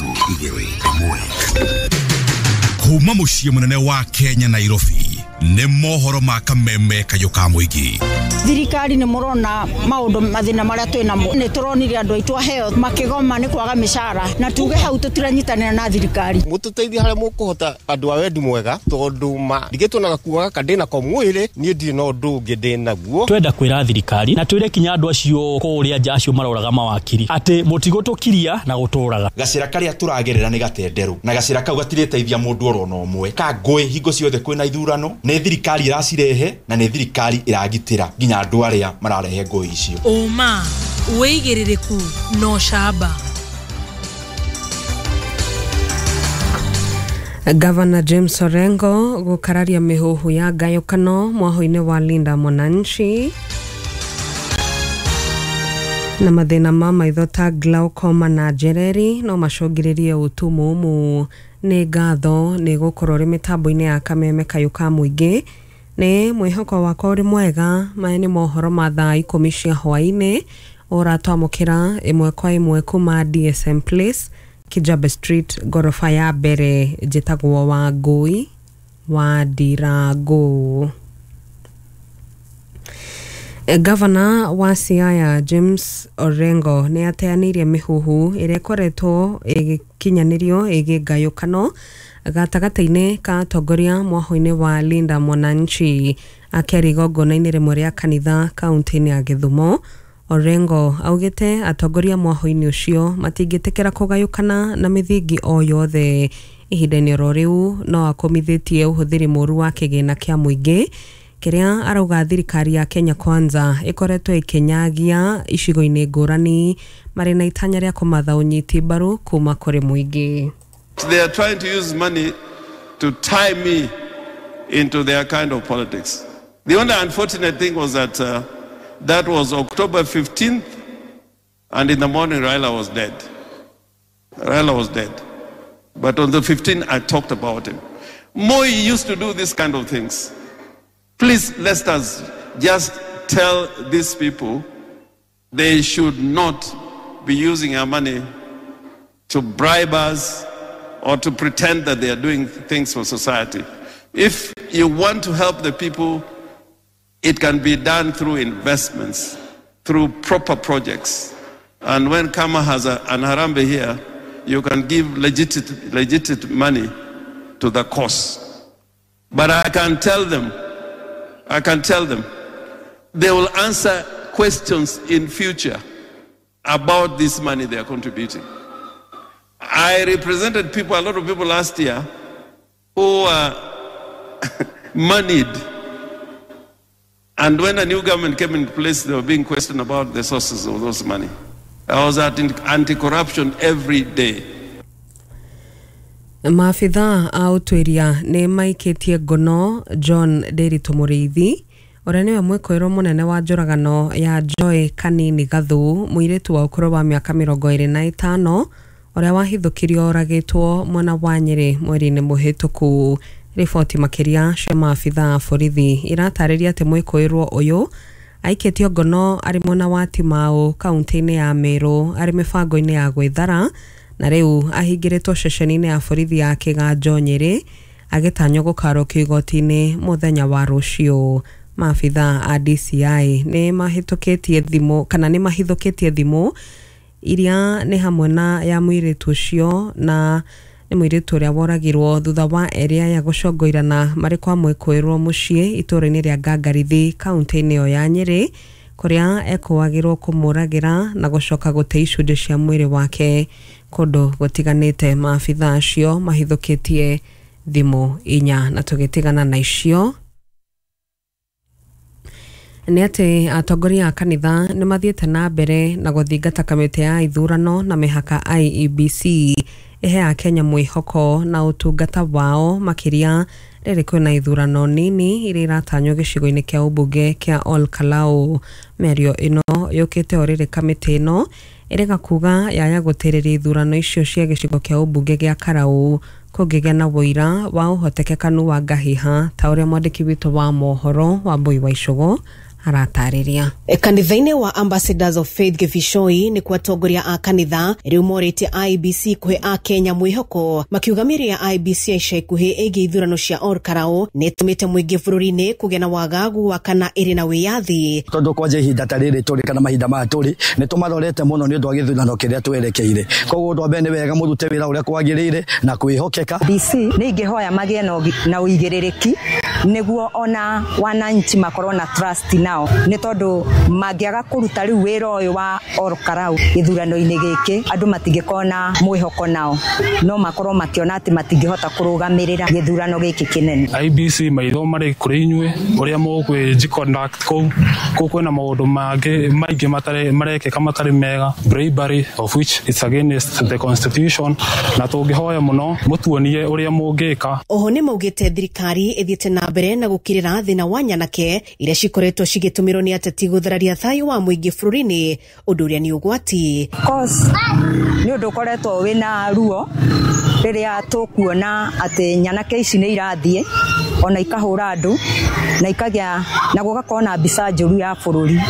3 2 1. Kuma muciĩ mũnene wa Kenya, Nairobi, nĩ mohoro ma kameme kayũ ka mũingĩ. Thirikari nĩ mũrona maũndũ mathĩna marĩa twĩ namo. Nĩ tũronire andũ aitũ aheo makĩgoma nĩ kwaga mĩcara, na tuge hau tũtiranyitanĩra na thirikari. Mũtũteithie harĩa mũkũhota, andũ a wendi mwega, tondũ ma ndigĩtwo na gakuo gaka ndĩ nako mwĩrĩ, niĩ ndirĩ na ũndũ ũngĩ ndĩ naguo. Twenda kwĩra thirikari na twĩre kinya andũ acio kũrĩa nja, acio maroraga mawakiri, atĩ mũtigũtũkiria na gũtũraga. Gacĩra karĩa tũragerera nĩ gatenderũ, na gacĩra kau gatirĩteithia mũndũ oro na ũmwe. Ka ngũĩ hingo ciothe kwĩna ithurano, nĩ thirikari ĩracirehe na nĩ thirikari ĩragitĩra nginya andũ arĩa mararehe ngũĩ icio. Ũma, wĩigĩrĩrĩku na ũcamba. Gavana James Orengo gũkararia mĩhuhu ya ngayũkano mwahũ-inĩ wa Linda Mwananchi. Na mathĩna ma maitho ta glaucoma na njereri no macũngĩrĩrie ũtumumu. Nĩ ngatho nĩ gũkorwo ũrĩ mĩtambo-inĩ ya kameme kayũ ka mũingĩ. Nĩ mwĩhoko wakwa ũrĩ mwega. Maya nĩ mohoro ma thaa 10 cia hwaĩ-inĩ, ũratwamũkĩra ĩmwe kwa ĩmwe kuma DSM Place, Kijabe Street, ngoroba ya mbere. Njĩtagwo Wangũi wa Ndirangu. Gavana wa Siaya James Orengo nĩ ateanĩirie mĩhuhu ĩrĩa ĩkoretwo ĩgĩkinyanĩrio ĩgiĩ ngayũkano gatagatĩ-inĩ ka atongoria mwahũ-inĩ wa Linda Mwananchi. Akĩaria igongona-inĩ rĩmwe rĩa kanitha kaunti-inĩ ya Gĩthumo, Orengo augĩte atongoria mwahũ-inĩ ũcio matingĩtĩkĩra kũgayũkana na mĩthingi o yothe. Ihinda-inĩ oro rĩu no akũmithĩtie ũhũthĩri mũru wa kĩgĩna kĩa mũingĩ kĩrĩa arauga thirikari ya Kenya Kwanza ĩkoretwo ĩkĩnyagia icigo-inĩ ngũrani marĩ na itanya rĩa kũmatha ũnyiti mbaru kuma kũrĩ mũingĩ. They are trying to use money to tie me into their kind of politics. The only unfortunate thing was that that was October 15th, and in the morning Raila was dead. Raila was dead. But on the 15th, I talked about him. Moi used to do this kind of things. Please, let us just tell these people they should not be using our money to bribe us or to pretend that they are doing things for society. If you want to help the people, it can be done through investments, through proper projects. And when Kama has an Harambee here, you can give legit money to the cause. But I can tell them, they will answer questions in future about this money they are contributing. I represented people, a lot of people last year who were moneyed. And when a new government came into place, they were being questioned about the sources of those money. I was at anti-corruption every day. Maabitha a ũtuĩria nĩ maikĩtie ngono John Ndiritu Mũrĩithi, ũrĩa nĩwe mwĩkũĩrwo mũnene wa njũragano ya Joy Kanini Gathu, mũirĩtu wa ũkũrũ wa mĩaka 25 ũrĩa wahithũkirio oragĩtwo mwena wa Nyĩrĩ mweri-inĩ mũhĩtũku. Riboti makĩria cia maabitha a borithi iratarĩria atĩ mwĩkũĩrwo ũyũ aikĩtio ngono arĩ mwena wa Timau, kaunti-inĩ ya Meru, arĩ mĩbango-inĩ ya gwĩthara, na rĩu ahingĩrĩtwo ceceni-inĩ ya borithi ya Kĩganjo, Nyĩrĩ, agĩtanywo gũkarũkio igoti-inĩ mũthenya wa rũciũ. Maabitha a DCI nĩ mahĩtũkĩtie thimũ, kana nĩ mahithũkĩtie thimũ iria nĩ hamwe na ya mũirĩtu ũcio, na nĩ mũirĩtu ũrĩa woragirwo thutha wa erĩ aya gũcongoirana marĩ kwa mwĩkũĩrwo mũciĩ itũũra-inĩ rĩa Ngangarithi, kaunti-inĩ ĩyo ya Nyĩrĩ, kũrĩa ekũagĩrwo kũmũragĩra na gũcoka gũte icunjĩ cia mwĩrĩ wake kũndũ gũtiganĩte. Maabitha acio mahithũkĩtie thimũ inya. Na tũgĩtigana na icio nĩ atĩ atongoria a kanitha nĩ mathiĩte na mbere na gũthingata kamĩtĩ ya ithurano na mĩhaka IEBC ĩhe Akenya mwĩhoko na ũtungata wao, makĩria rĩrĩ kwĩna ithurano nini iria iratanywo gĩcigo-inĩ kĩa ũmbunge kĩa Ol Kalou. Mĩario ĩno yũkĩte o rĩrĩ kamĩtĩ ĩno ĩrega kuga yaya gũtĩrĩria ithurano icio cia gĩcigo kĩa ũmbunge gĩa Karau kũngĩgĩa na ũira wa ũhotekekanu wa ngahiha, ta ũrĩa mwandĩki witũ wa mohoro Wambui wa Icũgũ Aratarĩria. Kanitha-inĩ wa Ambassadors of Faith Gĩbicoi nĩ kwa atongoria a kanitha rĩu morĩtie IEBC kũhe akenya mwĩhoko, makiuga mĩario ya IEBC ya ica ikuhĩ ĩgiĩ ithurano cia Ol Kalou nĩ ĩtũmĩte mũingĩ bũrũri-inĩ kũgĩa na wagagu wa kana ĩrĩ na wĩyathi. Tondũ kwanja ihinda ta rĩrĩ tũrĩ kana mahinda maya tũrĩ nĩ tũmarorete mũno nĩ ũndũ wa gĩthurano kĩrĩa twerekeire. Koguo ũndũ wa mbere nĩ wega mũrute wĩra ũrĩa kwagĩrĩire na kwĩhokeka. DC nĩ ingĩhoya magĩe na ũigĩrĩrĩki nĩguo ona wananchi makorwo na trust nao, nĩ tondũ mangĩaga kũruta rĩu wĩra ũyũ wa Ol Kalou gĩthurano-inĩ gĩkĩ, andũ matingĩkorwo na mwĩhoko nao, no makorwo makĩona atĩ matingĩhota kũrũgamĩrĩra gĩthurano gĩkĩ kĩnene. IEBC, maitho marĩ kũrĩ inyuĩ ũrĩa mũkwĩji conduct kũu. Kũu kwĩna maũndũ mangĩ maingĩ matarĩ marekĩka matarĩ mega, bribery, of which it's against the constitution, na tũngĩhoya mũno mũtuonie ũrĩa mũngĩka. Oho nĩ maugĩte thirikari ĩthiĩte na mbere na gũkirĩra thĩna wa nyanake iria cikoretwo cigĩtũmĩrwo nĩ ateti gũthararia thayũ wa mũingĩ bũrũri-inĩ, ũndũ ũrĩa nĩ ũgwati. Cause nĩ ũndũ ũkoretwo wĩna ruo rĩrĩa tũkuona atĩ nyanake ici nĩ irathiĩ ona ikahũra andũ na ikagĩa na gũgakorwo na mbica njũru ya bũrũri.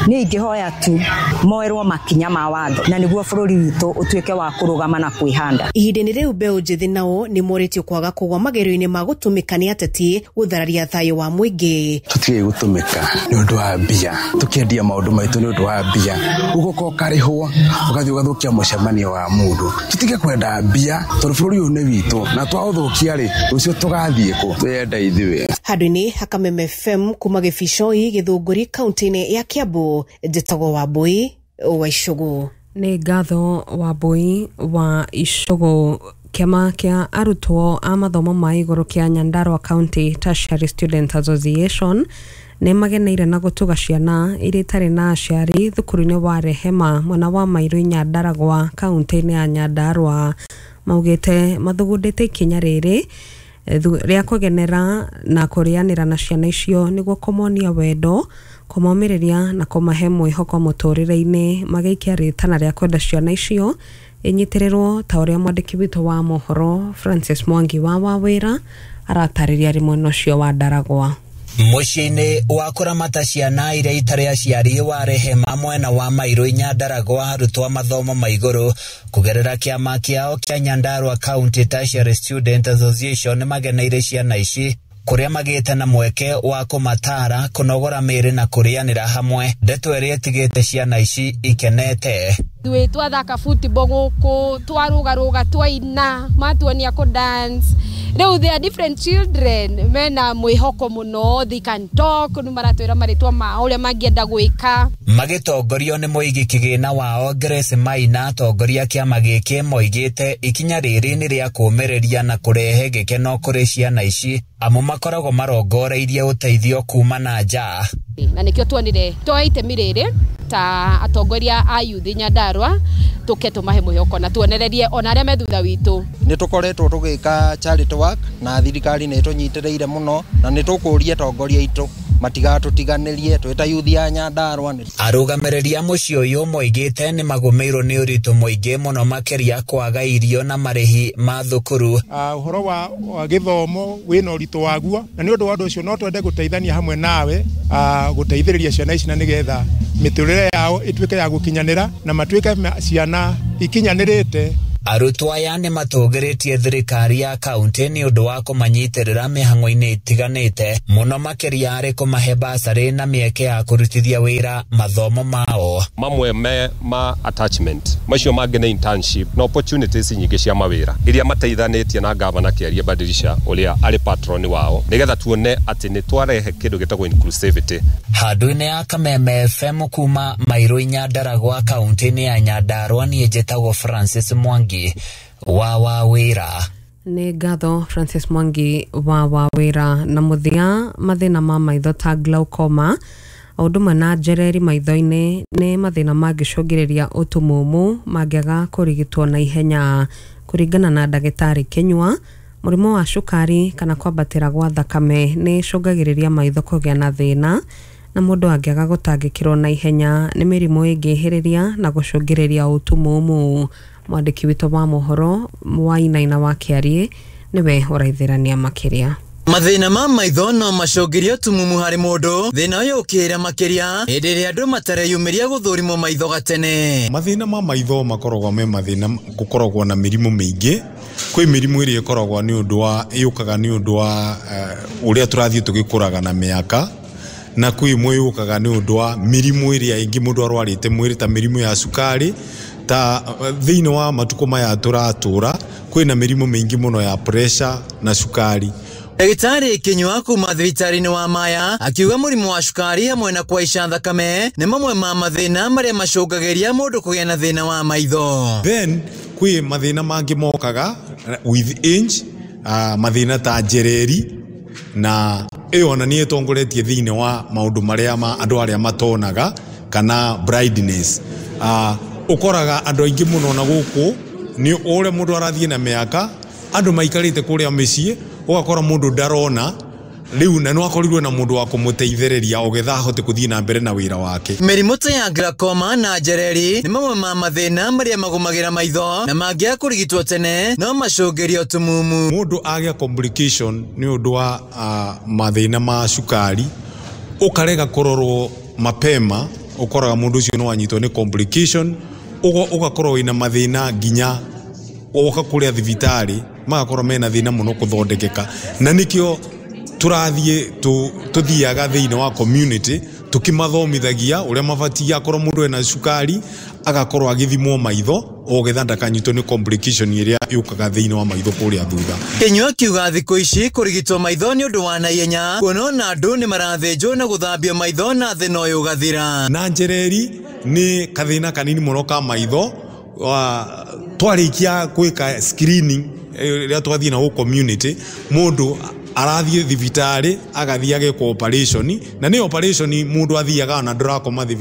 Niĩ ingĩhoya tu moerwo makinya ma watho na nĩguo bũrũri witũ ũtuĩke wa kũrũgama na kwĩhanda. Ihinda-inĩ rĩu, mbeũ njĩthĩ nao nĩ morĩtio kwaga kũgwa magerio-inĩ ma gũtũmĩka nĩ ateti gũthararia thayũ wa mũingĩ. Tũtige gũtũmĩka nĩ ũndũ wa mbia, tũkĩendia maũndũ maitũ nĩ ũndũ wa mbia, ũgoka ũkarĩhwo ũgathiĩ ũgathũkia mũcemanio wa mũndũ. Tũtige kwenda mbia tondũ bũrũri ũyũ nĩ witũ, na twaũthũkia rĩ, rũciũ tũgathiĩ kũ? Twĩyenda ithuĩ. Handũ-inĩ ha Kameme FM kuma Gĩbicoi, Gĩthũngũri, kaunti-inĩ ya Kiambu, njĩtagwo Wambui wa Icũgũ. Nĩ ngatho, Wambui wa Icũgũ. Kĩama kĩa arutwo a mathomo ma igũrũ kĩa Nyandarua County Tertiary Students Association nĩ mageneire na gũtuga ciana iria itarĩ na aciari thukuru-inĩ wa Rehema mwena wa Mairu, Nyandaragwa, kaunti-inĩ ya Nyandarua. Maugĩte mathugundĩte ikinya rĩrĩ rĩa kũgenera na kũrĩanĩra na ciana icio nĩguo kũmonia wendo, kũmomĩrĩria na kũmahe mwĩhoko mũtũrĩre-inĩ, magĩikia rĩtana rĩa kwenda ciana icio inyitĩrĩrwo, ta ũrĩa mwandĩki witũ wa mohoro Francis Mwangi wa Wawĩra aratarĩria arĩ mwena ũcio wa Ndaragwa. Mũciĩ-inĩ wa kũramata ciana iria itarĩ aciari wa Rehema mwena wa Mairũ, Nyandaragwa, arutwo a mathomo ma igũrũ kũgerera kĩama kĩao kĩa Nyandarua County Tertiary Student Association nĩmageneire ciana ici, kũrĩa magĩte na mweke wa kũmataara, kũnogora mĩĩrĩ na kũrĩanĩra hamwe, ndeto ĩrĩa ĩtigĩte ciana ici ikenete. Ithuĩ twathaka football gũkũ, twarũgarũga, twaina, matuonia kũ dance. Rĩu they are different children mena mwĩhoko mũno, they can talk, nĩ maratwĩra marĩtwa mao, ũrĩa mangĩenda gwĩka. Magĩtongorio nĩ mũigi kĩgĩna wao Grace Maina, atongoria kĩama gĩkĩ moigĩte ikinya rĩrĩ nĩ rĩa kũũmĩrĩria na kũrehe gĩkeno kũrĩ ciana ici, amu makoragwo marongoreirie ũteithio kuma na nja. Na nĩkĩo tuonire tuoe itemi rĩrĩ ta atongoria a youth Nyandarua, tũke tũmahe mwĩhoko na tuonererie ona arĩa me thutha witũ. Nĩ tũkoretwo tũgĩka charity work na thirikari nĩ ĩtũnyitĩrĩire mũno, na nĩ tũkũria atongoria aitũ matigatũtiganĩrie twĩ ta youth ya Nyandarua. Arũgamĩrĩri a mũciĩ ũyũ moigĩte nĩ magũmĩirwo nĩ ũritũ mũingĩ mũno, makĩria kwaga irio na marĩhi ma thukuru. Ũhoro wa gĩthomo wĩna ũritũ waguo, na nĩ ũndũ wa ũndũ ũcio no twende gũteithania hamwe nawe gũteithĩrĩria ciana ici na nĩgetha mĩtũrĩre yao ĩtuĩke ya gũkinyanĩra na matuĩke ciana ikinyanĩrĩte. Arutwo aya nĩ matũgĩrĩtie thirikari ya kaunti nĩ ũndũ wa kũmanyitĩrĩra mĩhang'o-inĩ ĩtiganĩte, mũno makĩria arĩ kũmahe basarĩ na mĩeke ya kũrutithia wĩra mathomo mao. Mamwe me ma attachment, macio mangĩ nĩ internship na opportunities nyingĩ cia mawĩra iria mateithanĩtie na gavana Kĩarie Badilisha ũrĩa arĩ patron wao, nĩgetha tuone atĩ nĩ twarehe kĩndũ gĩtagwo inclusivity. Handũ-inĩ ya Kameme FM kuma Mairũ, Nyandaragwa, kaunti-inĩ ya Nyandarua, niĩ njĩtagwo Francis Mwangi wa Wawĩra. Nĩ ngatho, Francis Mwangi wa Wawĩra. Na mũthia, mathĩna ma maitho ta glaucoma o ũndũ ũmwe na njereri maitho-inĩ nĩ mathĩna mangĩcũngĩrĩria ũtumumu mangĩaga kũrigitwo na ihenya. Kũringana na ndagĩtarĩ Kĩnyua, mũrimũ wa cukari kana kwambatĩra gwa thakame nĩ icũngagĩrĩria maitho kũgĩa na thĩna, na mũndũ angĩaga gũtangĩkĩrwo na ihenya nĩ mĩrimũ ĩngĩhĩrĩria na gũcũngĩrĩria ũtumumu. Mwandĩki witũ wa mohoro Wainaina wa Kĩariĩ nĩwe ũraithĩrania makĩria. Mathĩna ma maitho no macũngĩrie ũtumumu harĩ mũndũ, thĩna ũyũ ũkĩra makĩria hĩndĩ ĩrĩa andũ matareyumĩria gũthũrimwo maitho gatene. Mathĩna ma maitho makoragwo me mathĩna gũkoragwo na mĩrimũ mĩingĩ. Kwĩ mĩrimũ ĩrĩa ĩkoragwo nĩ ũndũ wa yũkaga nĩ ũndũ wa ũrĩa tũrathiĩ tũgĩkũraga na mĩaka, na kwĩ ĩmwe yũkaga nĩ ũndũ wa mĩrimũ ĩrĩa ĩngĩ mũndũ arwarĩte mwĩrĩ ta mĩrimũ ya cukari. Ta thĩinĩ wa matukũ maya tũratũra kwĩna mĩrimũ mĩingĩ mũno ya pressure na cukari. Ndagĩtarĩ Kinyua kuma thibitarĩ-inĩ wa Maya akiuga mũrimũ wa cukari hamwe na kũhaica thakame nĩ mamwe ma mathĩna marĩa macũngagĩria mũndũ kũgĩa na thĩna wa maitho. Then kwĩ mathĩna mangĩ mokaga with age, mathĩna ta njereri, na ĩyo ona nĩ ĩtongoretie thĩinĩ wa maũndũ marĩa ma andũ arĩa matonaga kana blindness. Ũkoraga andũ aingĩ mũno na gũkũ nĩ ũrĩa mũndũ arathiĩ na mĩaka, andũ maikarĩte kũrĩa mĩciĩ, ũgakora mũndũ ndarona rĩu, na no akorirwo na mũndũ wa kũmũteithĩrĩria ogetha ahote kũthiĩ na mbere na wĩra wake. Mĩrimũ ta ya glaucoma na njereri nĩ mamwe ma mathĩna marĩa magũmagĩra maitho na mangĩaga kũrigitwo tene no macũngĩrie ũtumumu. Mũndũ agĩa complication nĩ ũndũ wa mathĩna ma cukari, ũkarega kũrorwo mapema, ũkoraga mũndũ ũcio no anyitwo nĩ complication, ũgakorwo wĩna mathĩna nginya woka kũrĩa thibitarĩ magakorwo mena thĩna mũno kũthondekeka. Na nĩkĩo tũrathiĩ tũthiaga thĩinĩ wa community tũkĩmathomithagia ũrĩa mabatiĩ, akorwo mũndũ ena cukari agakorwo agĩthimwo maitho ogetha ndakanyitwo nĩ complication ĩrĩa yũkaga thĩinĩ wa maitho kũrĩa thutha. Kinyua akiuga thikũ ici kũrigitwo maitho nĩ ũndũ wa naihenya, kuona ona andũ nĩ marathĩnjwo na gũthambio maitho na thĩna ũyũ ũgathira. Na njereri nĩ kathĩna kanini mũno ka maitho. Twarĩkia gwĩka screening rĩrĩa twathiĩ na community, mũndũ arathiĩ thibitarĩ agathiĩ agekwo operation, na nĩ operation mũndũ athiaga ona ndũrakoma thibitarĩ.